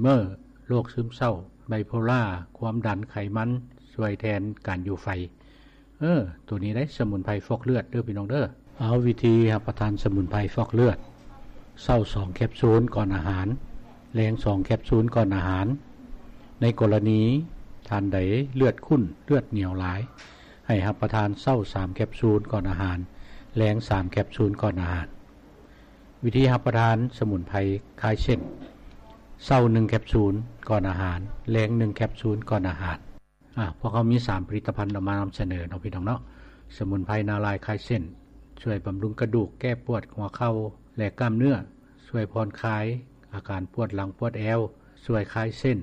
ເມີ ໂລກຊຶມເສົ້າ ໄບໂພລາ ຄວາມດັນ ໄຂມັນ ຊ່ວຍແທນການຢູ່ໄຟ. ເອີ ໂຕນີ້ໄດ໋ ສະໝຸນໄພຟອກເລືອດເດີພີ່ນ້ອງເດີ. ເອົາ ວິທີຮັບປະທານສະໝຸນໄພຟອກເລືອດ: ເຊົ້າສອງແຄບຊູນກ່ອນອາຫານ, ແລງສອງແຄບຊູນກ່ອນອາຫານ. ໃນກໍລະນີທ່ານໃດເລືອດຂຸ້ນ ເລືອດໜຽວຫຼາຍ, ໃຫ້ຮັບປະທານເຊົ້າສາມແຄບຊູນກ່ອນອາຫານ, ແລງສາມແຄບຊູນກ່ອນອາຫານ. ວິທີຮັບປະທານສະໝຸນໄພຄາຍເສັ້ນ: ເຊົ້າໜຶ່ງແຄບຊູນກ່ອນອາຫານ, ແລງໜຶ່ງແຄບຊູນກ່ອນອາຫານ. ອາ ພວກເຮົາມີສາມຜະລິດຕະພັນເອົາມານຳສະເໜີເນາະ ພີ່ນ້ອງເນາະ. ສະໝຸນໄພນາລາຍຄາຍເສັ້ນ ຊ່ວຍບຳລຸງກະດູກ, ແກ້ປວດຫົວເຂົ່າ ແລະ ກ້າມເນື້ອ, ຊ່ວຍຜ່ອນຄາຍອາການປວດຫຼັງປວດແອວ, ຊ່ວຍຄາຍເສັ້ນ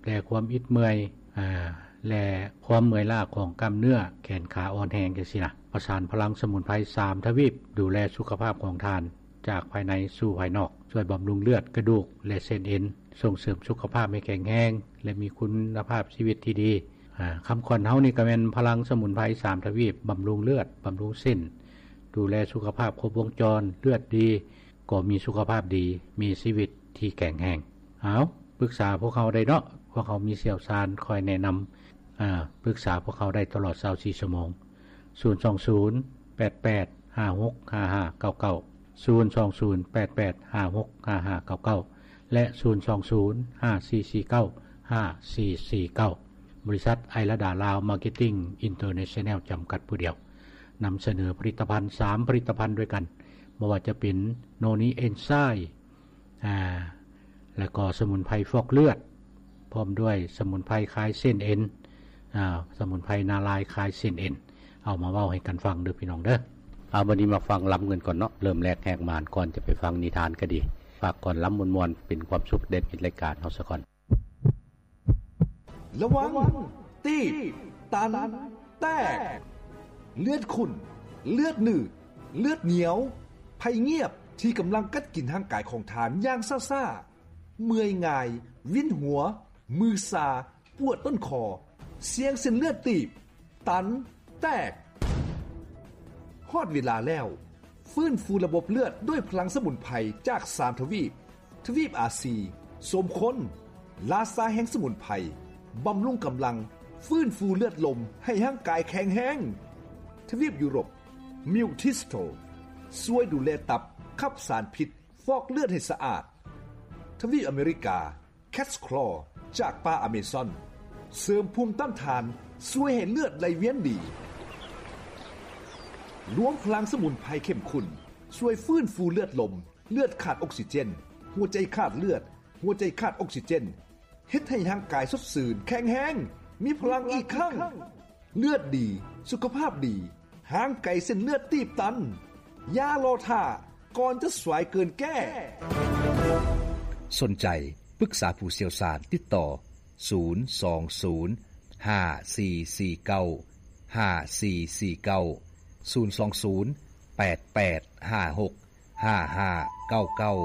ແລະ ຄວາມອິດເມື່ອຍ ອາ ແລະ ຄວາມເມື່ອຍລ້າຂອງກ້າມເນື້ອ ແຂນຂາອ່ອນແຮງ ຈັ່ງຊີ້ນະ. ປະສານພະລັງສະໝຸນໄພສາມທະວີບ ດູແລສຸຂະພາບຂອງທ່ານ ຈາກພາຍໃນສູ່ພາຍນອກ, ຊ່ວຍບຳລຸງເລືອດ, ກະດູກ ແລະ ເສັ້ນເອັນ, ສົ່ງເສີມສຸຂະພາບໃຫ້ແຂງແຮງ ແລະ ມີຄຸນນະພາບຊີວິດທີ່ດີ. ອາ ຄຳຂວັນເຮົານີ້ກໍແມ່ນພະລັງສະໝຸນໄພສາມທະວີບ ບຳລຸງເລືອດ, ບຳລຸງເສັ້ນ, ດູແລສຸຂະພາບຄົບວົງຈອນ, ເລືອດດີ ກໍມີສຸຂະພາບດີ, ມີຊີວິດທີ່ແຂງແຮງ. ເອົາ ປຶກສາພວກເຮົາໄດ້ເນາະ, ພວກເຮົາມີຊ່ຽວຊານຄອຍແນະນຳ. ອາ ປຶກສາພວກເຮົາໄດ້ຕະຫຼອດຊາວສີ່ຊົ່ວໂມງ. ສູນສອງສູນ ແປດແປດ ຫ້າຫົກ ຫ້າຫ້າເກົ້າເກົ້າ, ສູນສອງສູນ ແປດແປດ ຫ້າຫົກ ຫ້າຫ້າເກົ້າເກົ້າ ແລະ ສູນສອງສູນ ຫ້າສີ່ສີ່ເກົ້າ ຫ້າສີ່ສີ່ເກົ້າ. ບໍລິສັດໄອລະດາລາວມາເກັດຕິງອິນເຕີເນຊັນແນລ ຈຳກັດຜູ້ດຽວ ນຳສະເໜີຜະລິດຕະພັນສາມຜະລິດຕະພັນດ້ວຍກັນ, ບໍ່ວ່າຈະເປັນໂນນີເອັນໄຊ ອາ ແລ້ວກໍສະໝຸນໄພຟອກເລືອດ ພ້ອມດ້ວຍສະໝຸນໄພຄາຍເສັ້ນເອັນ ອາ ສະໝຸນໄພນາລາຍຄາຍເສັ້ນເອັນ ເອົາມາເວົ້າໃຫ້ກັນຟັງເດີພີ່ນ້ອງເດີ. ເອົາ ບັດນີ້ມາຟັງລຳກັນກ່ອນເນາະ. ເລີ່ມແລກແຮກມານ ກ່ອນຈະໄປຟັງນິທານກໍດີ, ຝາກກ່ອນລຳມ່ວນໆ ເປັນຄວາມສຸກໄດ້ເຮັດລາຍການເຮົາສາກ່ອນ. ລະວັງ ຕີບ ຕັນ ແຕກ ເລືອດຂຸ້ນ ເລືອດໜືດ ເລືອດໜຽວ ໄພງຽບທີ່ກຳລັງກັດກິນຮ່າງກາຍຂອງທ່ານຢ່າງຊ້າໆ, ເມື່ອຍງ່າຍ, ວິນຫົວ, ມືຊາ, ປວດຕົ້ນຄໍ, ສ່ຽງເສັ້ນເລືອດຕີບ, ຕັນ, ແຕກ. ຮອດເວລາແລ້ວ, ຟື້ນຟູລະບົບເລືອດດ້ວຍພະລັງສະໝຸນໄພຈາກສາມທະວີບ, ທະວີບອາຊີ, ສົມຄົນ, ລາຊາແຫ່ງສະໝຸນໄພ, ບຳລຸງກຳລັງ, ຟື້ນຟູເລືອດລົມໃຫ້ຮ່າງກາຍແຂງແຮງ. ທະວີບຢູໂຣບ, ມິວທິສໂຕ, ຊ່ວຍດູແລຕັບ, ຂັບສານພິດ, ຟອກເລືອດໃຫ້ສະອາດ. ທະວີບອາເມລິກາ, ແຄດສະຄລໍ ຈາກປ່າອາເມຊອນ ເສີມພູມຕ້ານທານ, ຊ່ວຍໃຫ້ເລືອດໄຫຼວຽນດີ. ລວມພະລັງສະໝຸນໄພເຂັ້ມຂຸ້ນ ຊ່ວຍຟື້ນຟູເລືອດລົມ, ເລືອດຂາດອົກຊີເຈນ, ຫົວໃຈຂາດເລືອດ, ຫົວໃຈຂາດອົກຊີເຈນ, ເຮັດໃຫ້ຮ່າງກາຍສົດຊື່ນ, ແຂງແຮງ, ມີພະລັງອີກຄັ້ງ. ເລືອດດີ, ສຸຂະພາບດີ, ຫ່າງໄກເສັ້ນເລືອດຕີບຕັນ. ຢ່າລໍຖ້າ, ກ່ອນຈະສາຍເກີນແກ້. ສົນໃຈປຶກສາຜູ້ຊ່ຽວຊານ, ຕິດຕໍ່ ສູນສອງສູນ ຫ້າສີ່ສີ່ເກົ້າ ຫ້າສີ່ສີ່ເກົ້າ, ສູນສອງສູນ ແປດແປດຫ້າຫົກ ຫ້າຫ້າເກົ້າເກົ້າ.